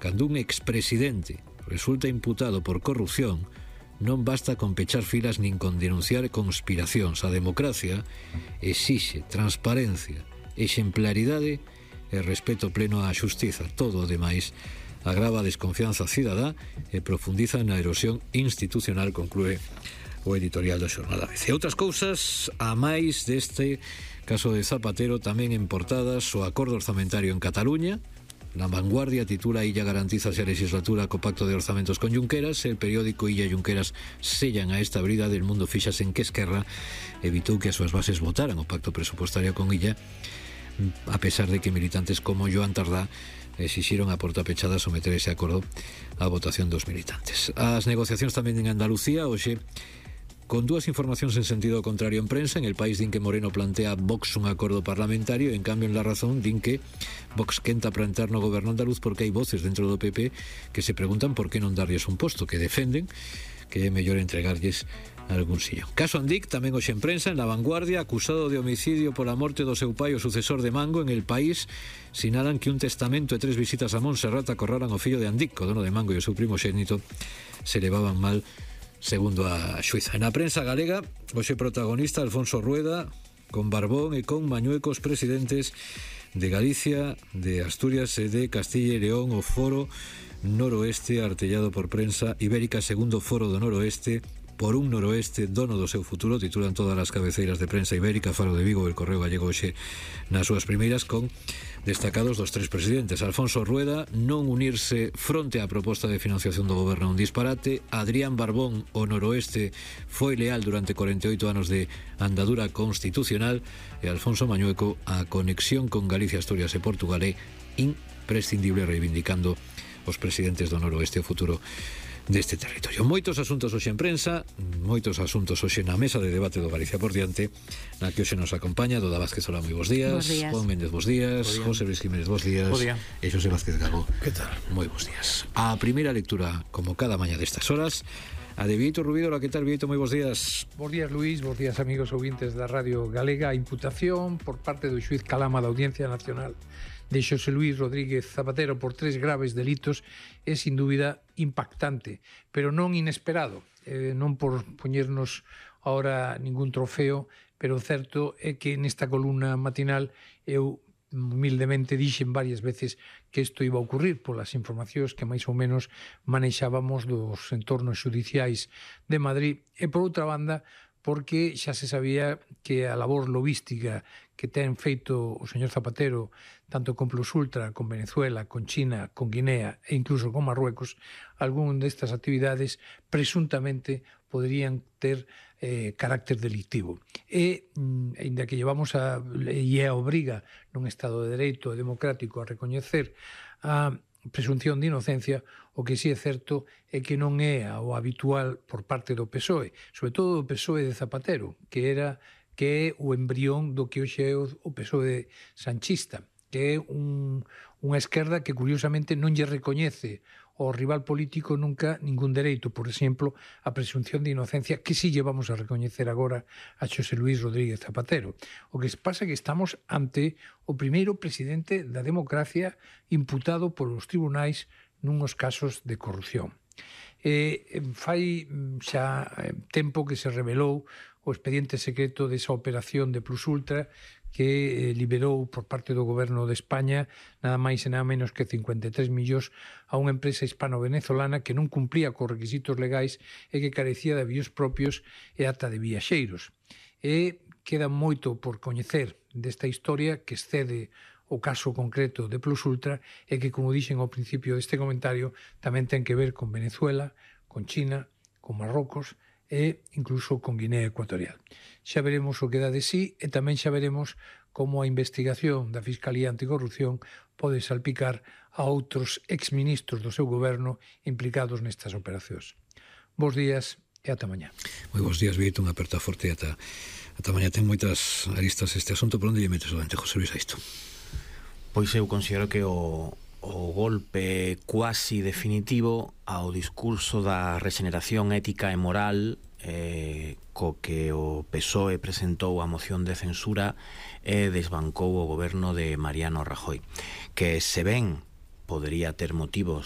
cando un expresidente resulta imputado por corrupción, non basta con pechar filas nin con denunciar conspiracións. A democracia exixe transparencia, exemplaridade e respeto pleno á xustiza. Todo o demais agrava a desconfianza cidadá e profundiza na erosión institucional, conclúe o editorial do xornal ABC. Outras cousas a máis deste caso de Zapatero, tamén en portadas: o acordo orzamentario en Cataluña. La Vanguardia titula: Illa garantiza a legislatura co pacto de orzamentos con Junqueras. El periódico Illa e Junqueras sellan a esta brida del mundo. Fixas en que Esquerra evitou que as súas bases votaran o pacto presupostario con Illa, a pesar de que militantes como Joan Tardá exixiron a porta pechada someter ese acordo á votación dos militantes. As negociacións tamén en Andalucía, hoxe con dúas informacións en sentido contrario en prensa. En El País din que Moreno plantea a Vox un acordo parlamentario, en cambio en La Razón din que Vox quenta para entrar no goberno andaluz porque hai voces dentro do PP que se preguntan por que non darlles un posto, que defenden que é mellor entregarlles algún sillón. Caso Andic, tamén hoxe en prensa, en La Vanguardia: acusado de homicidio pola morte do seu pai o sucesor de Mango. En El País sinalan que un testamento e 3 visitas a Montserrat acorraran o fillo de Andic. O dono de Mango e o seu primogénito se levaban mal, segundo a xuíza. Na prensa galega, hoxe protagonista Alfonso Rueda, con Barbón e con Mañueco, os presidentes de Galicia, de Asturias e de Castilla e León. O foro noroeste artellado por Prensa Ibérica, segundo foro do noroeste, por un noroeste dono do seu futuro, titulan todas as cabeceiras de Prensa Ibérica. Faro de Vigo, El Correo Gallego hoxe nas súas primeiras, con destacados dos 3 presidentes. Alfonso Rueda: non unirse fronte á proposta de financiación do goberno un disparate. Adrián Barbón: o noroeste foi leal durante 48 anos de andadura constitucional. E Alfonso Mañueco: a conexión con Galicia, Asturias e Portugal é imprescindible, reivindicando os presidentes do noroeste o futuro deste territorio. Moitos asuntos hoxe en prensa, moitos asuntos hoxe na mesa de debate do Galicia por diante, na que hoxe nos acompaña Doda Vázquez. Hola, moi bons días. Juan Méndez, bons días. José Luis Jiménez, bons días. E Xosé Vázquez Gago, que tal? Moi bons días. A primeira lectura, como cada mañá destas horas, a de Vieito Rubídolo. Que tal, Vieito? Moi bons días. Bons días, Luís. Bons días, amigos ouvintes da Radio Galega. A imputación por parte do xuiz Calama da Audiencia Nacional de Xosé Luís Rodríguez Zapatero por 3 graves delitos é sin dúbida impactante, pero non inesperado, non por poñernos ahora ningún trofeo, pero o certo é que nesta columna matinal eu humildemente dixen varias veces que isto iba a ocurrir polas informacións que máis ou menos manexábamos dos entornos xudiciais de Madrid, e por outra banda porque xa se sabía que a labor lobística que ten feito o señor Zapatero tanto con Plus Ultra, con Venezuela, con China, con Guinea e incluso con Marruecos, algún destas actividades presuntamente poderían ter carácter delictivo. E, ainda que llevamos a obriga nun Estado de Dereito democrático a recoñecer a presunción de inocencia, o que si é certo é que non é o habitual por parte do PSOE, sobre todo do PSOE de Zapatero, que é o embrión do que hoxe é o PSOE sanchista, que é unha esquerda que curiosamente non lle recoñece ao rival político nunca ningún dereito, por exemplo, a presunción de inocencia, que si lle vamos a recoñecer agora a Xosé Luís Rodríguez Zapatero. O que pasa é que estamos ante o primeiro presidente da democracia imputado polos tribunais nuns casos de corrupción. Fai xa tempo que se revelou o expediente secreto desa operación de Plus Ultra que liberou por parte do goberno de España nada máis e nada menos que 53 millóns a unha empresa hispano-venezolana que non cumplía cos requisitos legais e que carecía de avíos propios e ata de viaxeiros. E queda moito por coñecer desta historia que excede o caso concreto de Plus Ultra e que, como dixen ao principio deste comentario, tamén ten que ver con Venezuela, con China, con Marrocos e incluso con Guinea Ecuatorial. Xa veremos o que dá de sí e tamén xa veremos como a investigación da Fiscalía Anticorrupción pode salpicar a outros exministros do seu goberno implicados nestas operacións. Bos días e ata mañá. Moi bons días, Vito, unha aperta forte ata mañá. Ten moitas aristas este asunto. Por onde lle metes solamente, José Luis, a isto? Pois eu considero que o golpe cuasi definitivo ao discurso da rexeneración ética e moral co que o PSOE presentou a moción de censura e desbancou o goberno de Mariano Rajoy, que se ben podería ter motivos